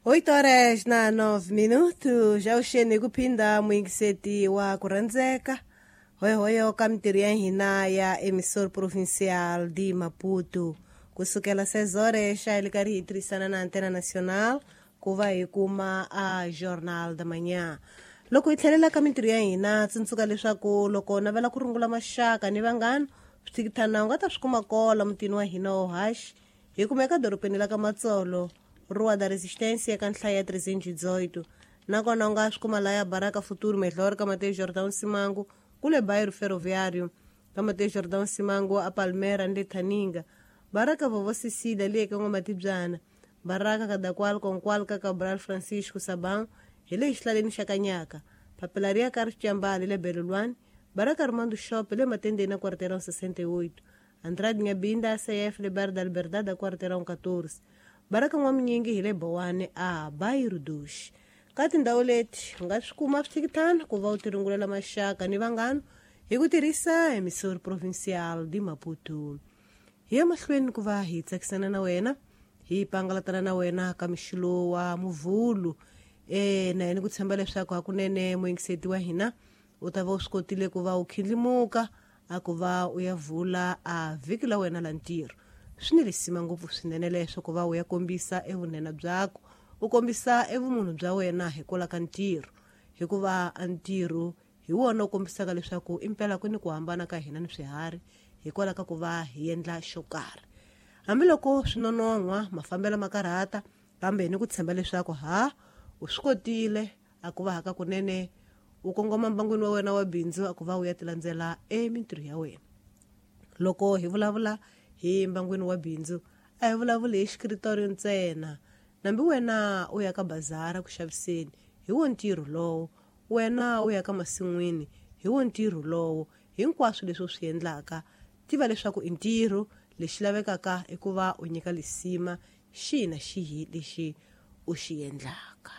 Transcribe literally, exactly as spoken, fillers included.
Oito horas na nove minutos, avuxeni ku phinda muyingiseti wa ku rhandzeka hoyohoyo ka mintirho ya hina ya Emissor Provincial de Maputo. Kusukela seis horas xa hi li karhi hi tirhisana na Antena Nacional ku va hi kuma a Jornal da Manhã. Loko hi tlhelela ka mintirho ya hina, tsundzuka leswaku loko u navela ku rungula maxaka ni vanghana, swithikithana u nga ta swi kuma kola mutini wa hina wo haxi. Hi kumeka dorobeni la ka Matsolo, Rua da Resistência ka nhlayo ya trezentos e dezoito. Nakona u nga swi kuma laya Baraka Futuro Melhor ka Mateus Jordão Simango, kule Bairro Ferroviário, ka Mateus Jordão Simango a Palmera ni le Thaninga. Baraka Vovó Cecília le ka N'wamatibyana. Baraka Kadakwal Konkwal ka Cabral Francisco Sabão hi le xihlaleni xa Kanyaka. Papelaria Carlos Chambali le Belulwani. Baraka Armando Shop le Matendeni na Quarteirão sessenta e oito. Andrade Nhabinda A C F le Bar da Liberdade a Quarteirão catorze. Baraka N'waminyingi hi le Bowane a Bairro dos. Ka tindhawu leti u nga swi kuma swithikithana ku va u tirungulela maxaka ni vanghana hi ku tirhisa Emissor Provincial de Maputo. Hi ya mahlweni ku va hi tsakisana na wena, hi pangalatana na wena ka mixilo wa muvhulu. E na yena ku tshemba leswaku hakunene muyingiseti wa hina u ta va u swi kotile ku va u khindlimuka a ku va u ya vula a vhiki la wena la ntirho. Swi ni risima ngopfu swinene leswo ku va u ya kombisa evunene byakho, u kombisa evumunhu bya wena hikwalaho ka ntirho, hikuva a ntirho hi wona u kombisaka leswaku impela ku ni ku hambana ka hina ni swiharhi hikwalaho ka ku va hi endla xo karhi. Hambiloko swi nonon'hwa mafambelo ma karhata, kambe ni ku tshemba leswaku ha u swi kotile a ku va haka kunene u kongoma mbangwini wa wena wa bindzu a ku va u ya tilandzela emintirho ya wena. Loko hi vulavula hi mbangwini wa bindzu, a hi vulavuli hi xikritorio ntsena. Nambi wena u ya ka bazara ku xaviseni, hi wo ntirho lowo. Wena u ya ka masin'wini, hi wo ntirho lowo. Hinkwaswo leswi u swi endlaka, tiva leswaku i ntirho. Lexi lavekaka i ku va u nyika lisima xihi na xihi lexi u xi endlaka.